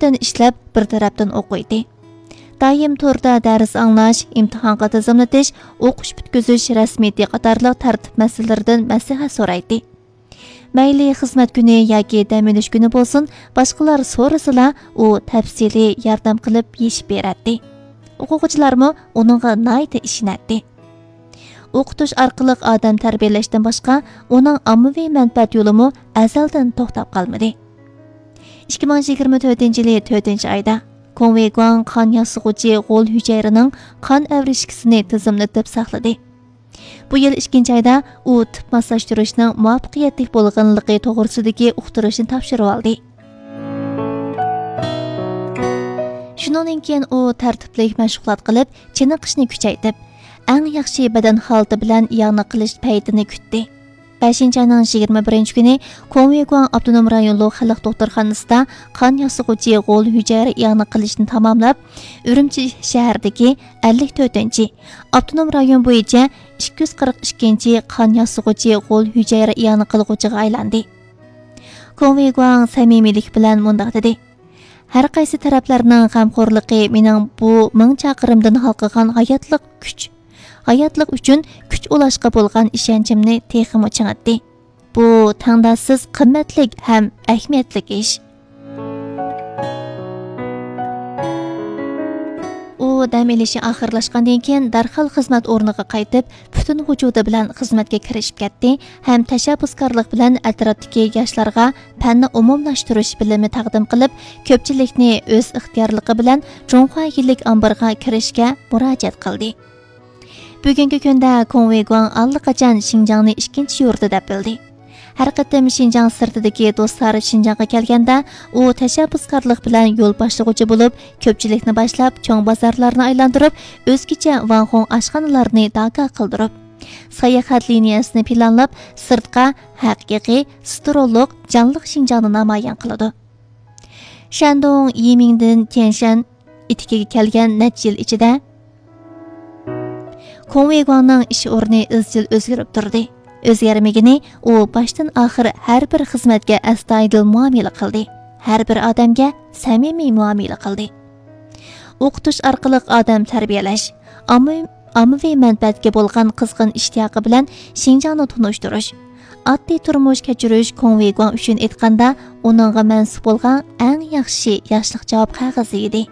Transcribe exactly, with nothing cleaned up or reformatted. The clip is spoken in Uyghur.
تەرەپتىن ئىشلەپ، بىر تەرەپتىن ئوقۇيتتى. دائىم توردا دەرس ئاڭلاش، ئىمتىھانغا تىزىملىتىش، ئوقۇش پۈتكۈزۈش رەسمىيىتى قاتارلىق تەرتىپ مەسىلىلىرىدىن مەسلىھەت سورايتتى. مەيلى خىزمەت كۈنى ياكى دەم ئېلىش كۈنى بولسۇن، باشقىلار سورىسىلا، ئۇ تەپسىلىي ياردەم قىلىپ يېشىپ بېرەتتى. ئوقۇغۇچىلارمۇ ئۇنىڭغا ناھايىتى ئىشىنەتتى. ئوقۇتۇش ئارقىلىق ئادەم تەربىيەلەشتىن باشقا، ئۇنىڭ ئاممىۋى مەنپەئەت يولىمۇ ئەزەلدىن توختاپ قالمىدى. ئىككى مىڭ يىگىرمە تۆتىنچى يىلى تۆتىنچى ئايدا، كوڭ ۋېيگۇاڭ قان ياسىغۇچى غول ھۈجەيرىنىڭ قان ئەۋرىشكىسىنى تىزىملىتىپ ساقلىدى. بۇ يىل ئىككىنچى ئايدا ئۇ تۈپ ماسلاشتۇرۇشنىڭ مۇۋەپپەقىيەتلىك بولغانلىقى توغرىسىدىكى ئۇقتۇرۇشنى تاپشۇرۇۋالدى. شۇنىڭدىن كېيىن ئۇ تەرتىپلىك مەشغۇلات قىلىپ، چېنىقىشنى كۈچەيتىپ، ئەڭ ياخشى بەدەن ھالىتى بىلەن ئىئانە قىلىش پەيتىنى كۈتتى. بەشىنچى ئاينىڭ يىگىرمە بىرىنچى كۈنى كوڭ ۋېيگۇاڭ ئاپتونوم رايونلۇق خەلق دوختۇرخانىسىدا قان ياسىغۇچى غول ھۈجەيرە ئىئانە قىلىشنى تاماملاپ، ئۈرۈمچى شەھىرىدىكى ئەللىك تۆتىنچى ئاپتونوم رايون بويىچە ئىككى يۈز قىرىق ئىككىنچى قان ياسىغۇچى غول ھۈجەيرە ئىئانە قىلغۇچىغا ئايلاندى. كوڭ ۋېيگۇاڭ سەمىمىيلىك بىلەن مۇنداق دېدى: «ھەر قايسى تەرەپلەرنىڭ غەمخورلۇقى مېنىڭ بۇ مىڭ چاقىرىمدىن ھالقىغان ھاياتلىق كۈچ، ھاياتلىق ئۈچۈن كۈچ ئۇلاشقا بولغان ئىشەنچىمنى تېخىمۇ چىڭىتتى. بۇ تەڭداشسىز قىممەتلىك ھەم ئەھمىيەتلىك ئىش.» ئۇ دەم ئېلىشى ئاخىرلاشقاندىن كېيىن دەرھال خىزمەت ئورنىغا قايتىپ، پۈتۈن ۋۇجۇدى بىلەن خىزمەتكە كىرىشىپ كەتتى ھەم تەشەببۇسكارلىق بىلەن ئەتراپتىكى ياشلارغا پەننى ئومۇملاشتۇرۇش بىلىمى تەقدىم قىلىپ، كۆپچىلىكنى ئۆز ئىختىيارلىقى بىلەن جۇڭخۇا يىللىك ئامبىرىغا كىرىشكە مۇراجىئەت قىلدى. بۈگۈنكى كۈندە كوڭ ۋېيگۇاڭ ئاللىقاچان شىنجاڭنى ئىككىنچى يۇرتى دەپ بىلدى. ھەر قېتىم شىنجاڭ سىرتىدىكى دوستلار شىنجاڭغا كەلگەندە، ئۇ تەشەببۇسكارلىق بىلەن يول باشلىغۇچى بولۇپ، كۆپچىلىكنى باشلاپ، چوڭ بازارلارنى ئايلاندۇرۇپ، ئۆزگىچە ۋاڭخۇڭ ئاشخانىلارنى داكا قىلدۇرۇپ، ساياھەت لىنىيەسىنى پىلانلاپ، سىرتقا ھەقىقىي سترولۇق، جانلىق شىنجاڭنى نامايان قىلىدۇ. شەندۇڭ، يىمىڭدىن تيەنشەن ئېتىكىگە كەلگەن نەچچە يىل ئىچىدە، كوڭ ۋېيگۇاڭنىڭ ئىش ئورنى ئىزچىل ئۆزگىرىپ تۇردى. ئۆزگەرمىگىنى، ئۇ باشتىن ئاخىر ھەر بىر خىزمەتكە ئەستايىدىل مۇئامىلە قىلدى، ھەر بىر ئادەمگە سەمىمىي مۇئامىلە قىلدى. ئوقۇتۇش ئارقىلىق ئادەم تەربىيەلەش، ئاممىۋى، ئاممىۋى مەنپەئەتكە بولغان قىزغىن ئىشتىياقى بىلەن شىنجاڭنى تونۇشتۇرۇش، ئاددىي تۇرمۇش كەچۈرۈش كوڭ ۋېيگۇاڭ ئۈچۈن ئېيتقاندا، ئۇنىڭغا مەنسۇپ بولغان ئەڭ ياخشى ياشلىق جاۋاب قەغىزى ئىدى.